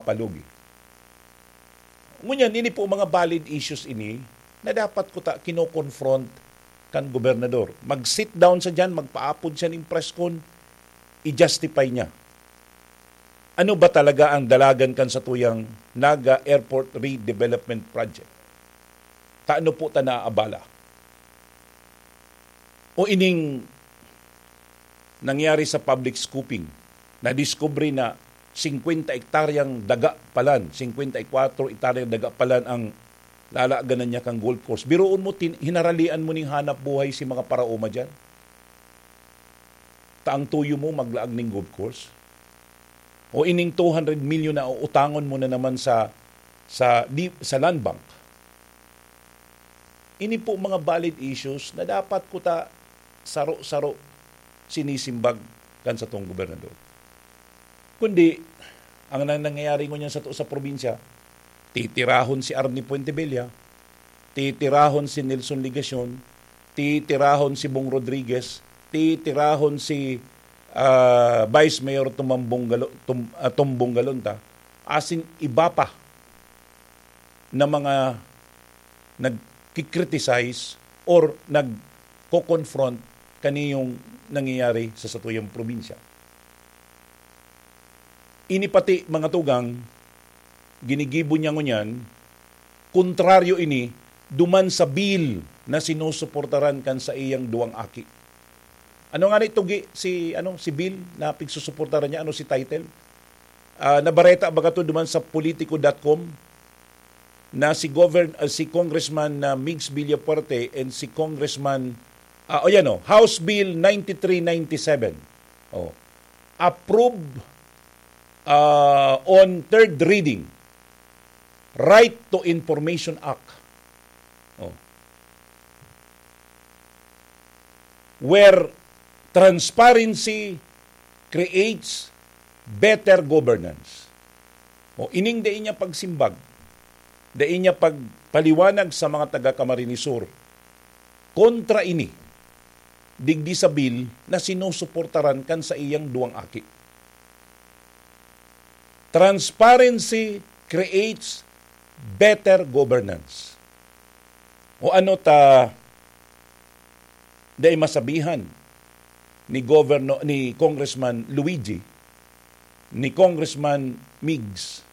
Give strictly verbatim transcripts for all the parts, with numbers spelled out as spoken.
palugi. Ngunyan, ini po mga valid issues ini na dapat kuta kino-confront kan gobernador. Mag-sit down sa diyan, magpaapod siya ning press con, i-justify niya. Ano ba talaga ang dalagan kan satuyang Naga Airport Redevelopment Project? Tano po ta naabala? O ining nangyari sa public scooping, nadiskubre na singkwenta ektaryang daga palan, singkwenta y kwatro ektaryang daga palan ang lalaganan niya kang golf course. Biruon mo, tin-, hinaralian mo ning hanap buhay si mga paraoma diyan. Ta ang tuyo mo maglaag ning golf course. O ining two hundred million na uutangon mo na naman sa, sa, di, sa Land Bank. Ini po mga valid issues na dapat kuta saro-saro sinisimbag kan satong gobernador. Kundi, ang nang-, nangyayari ngunyan sato sa probinsya, titirahon si Arnie Fuentebella, titirahon si Nelson Legacion, titirahon si Bong Rodriguez, titirahon si, ah, Vice Mayor Tumambong Galo-, Tum-, ah, Tombong Galonta, asin iba pa na mga nagki-criticize or nagko-confront kaniyong nangyayari sa satuyang probinsya. Ini pati, mga tugang, ginigibo niya ngunyan, kontraryo ini duman sa bill na sinusuportaran kan saiyang duwang aki. Ano nga ni tugi si, ano, si bill na pigsusuportaran niya? Ano si title? Ah, nabareta baga to duman sa politico dot com na si Govern-, ah, si Congressman, ah, Migs Villafuerte and si Congressman, ah, o yan, oh, House Bill ninety-three ninety-seven. Oh. Approve, ah, on third reading, Right to Information Act. Oh. Where transparency creates better governance. O, ining dai niya pagsimbag, dai niya pagpaliwanag sa mga taga Camarines Sur kontra ini, digdi sa bill na sinusuportaran kan saiyang duwang aki. Transparency creates better governance. O ano ta dai masabihan ni Governo-, ni Congressman Luigi, ni Congressman Migs,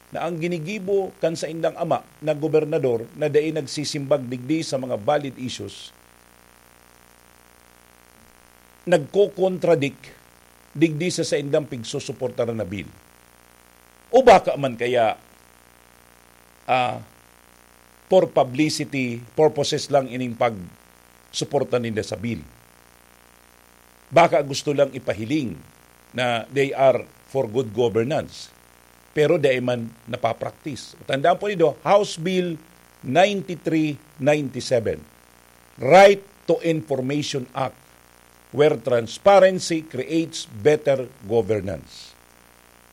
na ang ginigibo kan saindang ama na gobernador na dai nagsisimbag digdi sa mga valid issues, nagko-contradict digdi sa saindang pigsusuportaran na bill. O baka man kaya, ah, for publicity purposes lang ining pagsuporta ninda sa bill. Baka gusto lang ipahiling na they are for good governance, pero dai man napapraktis. Tandaan po nindo, House Bill ninety-three ninety-seven, Right to Information Act, where transparency creates better governance.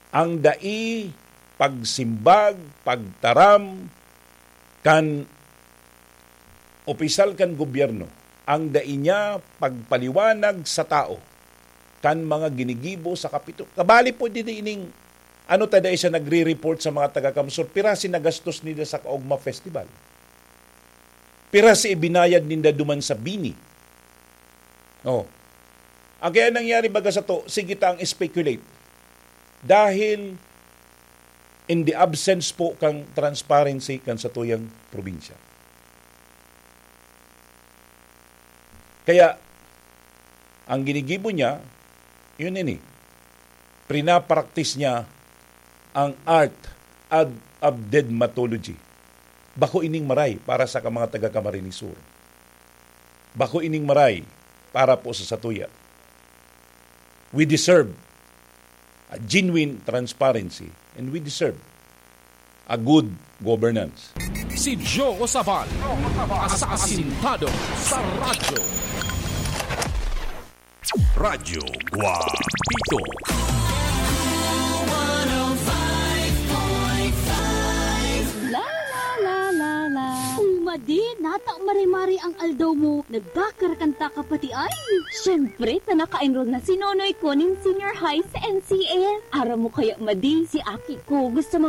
Ang dai pagsimbag, pagtaram kan opisyal kan gobyerno, ang dai niya pagpaliwanag sa tao kan mga ginigibo sa Kapitolyo. Kabali po din ining, ano ta dai siya nagre-report sa mga taga-CamSur, pira si nagastos nila sa Kaugma Festival? Pira si ibinayad ninda duman sa BINI? Oh. Ang kaya nangyari baga sato, sige ta ang speculate. Dahil in the absence po kang transparency kan satuyang probinsya. Kaya, ang ginigibo niya, yun ini. Prinapraktis niya ang art ad-, of deadmatology. Bako ining maray para sa ka-, mga taga-Camarines Sur. Bako ining maray para po sa satuya. We deserve a genuine transparency and we deserve a good governance. Si Joe Sabal, asasintado sa radyo. Radyo Guapito. La, la, la, la, la. Uy, madi, nata mare-mare ang aldaw mo. Nagkakarakanta ka pati ay. Siyempre, ta naka-enroll na si Nonoy ko nin senior high sa N C F. Aram mo kaya, madi, si aki ko gusto mag-